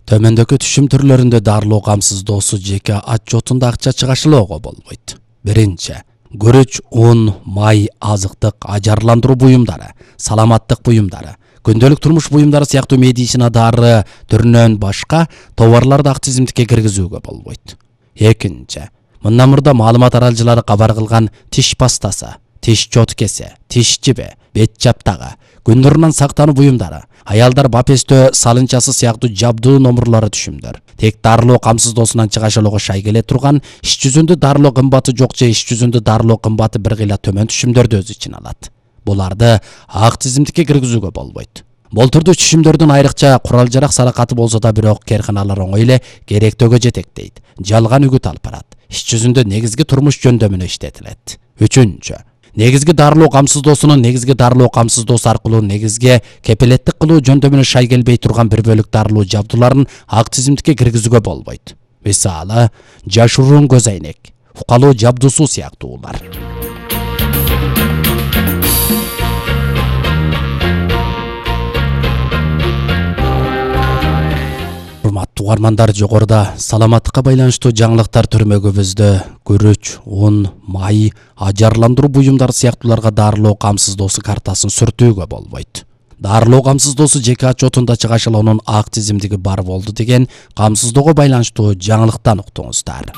Төмөндөгү түшүм түрлөрүндө дарылоо камсыздоосу жеке отчетунда акча чыгашылоого болбойт. Биринчи, күрүч, un, май, азыктык, ажарландыруу буюмдары, саламаттык буюмдары, күндөлүк турмуш буюмдары сыяктуу медицина дары түрүнөн башка товарларды ак тизимдикке киргизүүгө болбойт. Экинчи, мындан мурда маалымат аралжылары кабар кылган тиш пастасы, тиш чоткеси, тиш жиби, бет жаптагы, күн нурунан сактануу буюмдары, аялдар бапестөө салынчасы сыяктуу жабдуу номурлары түшүмдөр. Тек дарылоо камсыздоосунан чыгашылоого шай келе турган иш жүзүндө дарылоо кымбаты жок же иш жүзүндө дарылоо кымбаты бир кыйла төмөн түшүмдөрдү өз ичине алат. Буларды ак тизимдикке киргизүүгө болбойт. Болтурдуу түшүмдөрдүн айрыкча курал-жарак саракаты болсо да бирок кээрканалар оңой эле керектөөгө жетектейт. Жалган үгүт алып барат. Иш жүзүндө негизги турмуш жөндөмүнө иштетилет. Үчүнчү, негизги дарылоо камсыздоосунун негизги дарылоо камсыздоосу аркылуу негизге кепилеттик кылуу жөндөмүнө шай келбей турган бир бөлүк дарылоо жабдууларын ак тизимдикке киргизүүгө болбойт. Мисалы, жашыруун көз айнек, укалуу жабдуусу сыяктуулар. Урматтуу угармандар, жогоруда саламаттыкка байланыштуу жаңылыктар түрмөгүбүздө күрүч, un, май, ажарландыруу буюмдары сыяктууларга дарылоо камсыздоосу картасын сүртүүгө болбойт. Дарылоо камсыздоосу жеке отчетунда чыгашылоонун ак тизимдиги бар болду деген камсыздоого байланыштуу жаңылыктан уктуңуздар.